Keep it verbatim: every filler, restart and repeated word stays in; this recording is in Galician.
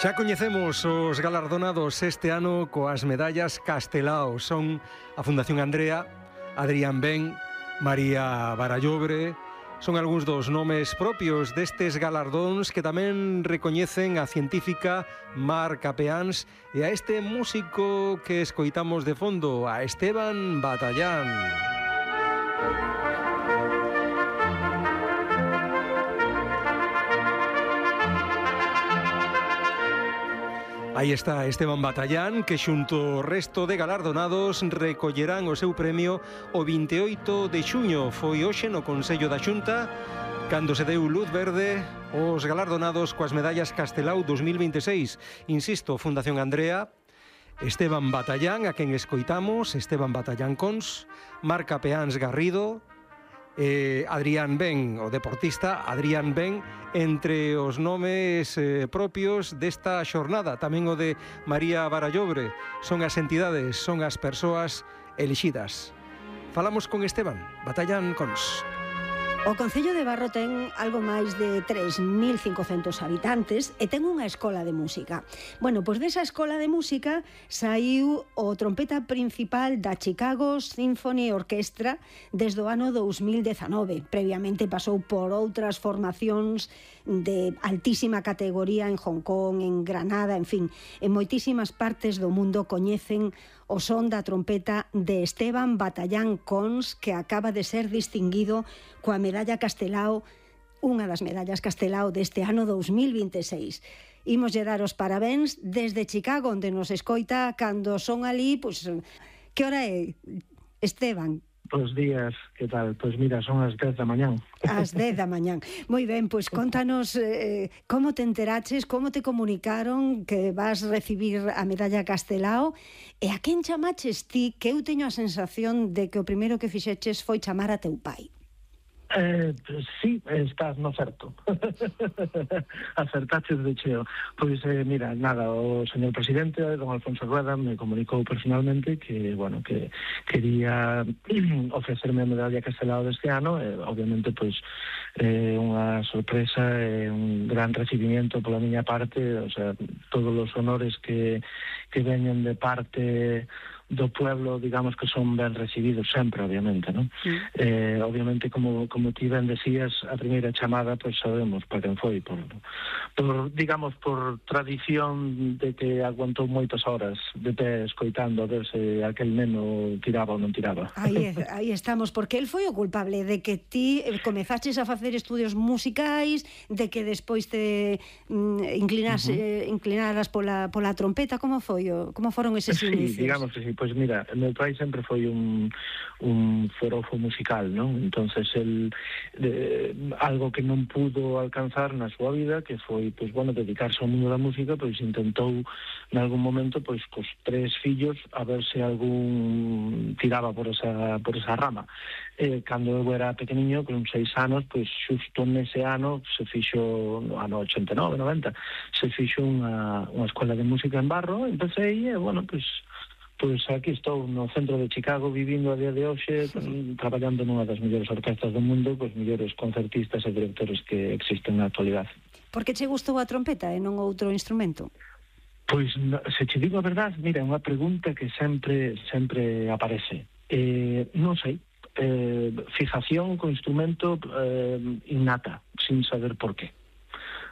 Xa coñecemos os galardonados este ano coas medallas Castelao. Son a Fundación Andrea, Adrián Ben, María Barallobre. Son algúns dos nomes propios destes galardóns que tamén recoñecen a científica Mar Capeáns e a este músico que escoitamos de fondo, a Esteban Batallán. Aí está Esteban Batallán, que xunto ao resto de galardonados recollerán o seu premio o vinte e oito de xuño. Foi hoxe no Consello da Xunta cando se deu luz verde os galardonados coas medallas Castelao dos mil vinte e seis. Insisto, Fundación Andrea, Esteban Batallán, a quen escoitamos, Esteban Batallán Cons, Mar Capeáns Garrido, Eh, Adrián Ben, o deportista Adrián Ben, entre os nomes eh, propios desta xornada. Tamén o de María Barallobre. Son as entidades, son as persoas elixidas. Falamos con Esteban Batallán Cons. O Concello de Barro ten algo máis de tres mil cincocentos habitantes e ten unha escola de música. Bueno, pois desa escola de música saiu o trompeta principal da Chicago Symphony Orchestra desde o ano dous mil dezanove. Previamente pasou por outras formacións de altísima categoría en Hong Kong, en Granada, en fin, en moitísimas partes do mundo coñecen o son da trompeta de Esteban Batallán Cons, que acaba de ser distinguido coa medalla Castelao, unha das medallas Castelao deste ano dous mil vinte e seis. Imoslle dar os parabéns desde Chicago, onde nos escoita cando son ali, pois, que hora é, Esteban? Bos días, que tal? Pois mira, son as dez da mañán. As dez da mañán. Moi ben, pois contanos eh, como te enteraches, como te comunicaron que vas recibir a medalla Castelao e a quen chamaches ti, que eu teño a sensación de que o primeiro que fixeches foi chamar a teu pai. Eh, sí, estás no certo. Acertaches de cheo. Pois, eh, mira, nada, o señor presidente, don Alfonso Rueda, me comunicou personalmente que, bueno, que quería ofrecerme a medalla Castelao deste ano, e, obviamente, pois, eh, unha sorpresa e un gran recibimiento pola miña parte, o sea, todos os honores que, que veñen de parte do pueblo, digamos que son ben recibidos sempre, obviamente, non? Sí. Eh, obviamente, como, como ti ben decías, a primeira chamada, pois sabemos para quen foi, por, por, digamos, por tradición de que aguantou moitas horas de pé escoitando a ver se aquel neno tiraba ou non tiraba. Aí, aí estamos, porque el foi o culpable de que ti comezaches a facer estudios musicais, de que despois te mm, inclinas, uh-huh. eh, inclinaras pola, pola trompeta. Como foi? O, como foron eses sí, inicios? Digamos que sí. Pois mira, meu pai sempre foi un, un forofo musical, non? Entonces, el, eh, algo que non pudo alcanzar na súa vida, que foi, pois, bueno, dedicarse ao mundo da música, pois intentou, en algún momento, pois, cos tres fillos, a ver se algún tiraba por esa, por esa rama. Eh, cando eu era pequeniño, con seis anos, pois, xusto nese ano, se fixo, no ano ochenta e nove, noventa, se fixo unha, unha escola de música en Barro, empecé e, bueno, pois, Pois aquí estou no centro de Chicago vivindo a día de hoxe, sí. Traballando nunha das mellores orquestas do mundo, cos mellores concertistas e directores que existen na actualidade. Por que che gustou a trompeta e non outro instrumento? Pois, se che digo a verdade, mira, é unha pregunta que sempre sempre aparece. Eh, non sei, eh, fijación co instrumento eh, innata, sin saber por qué.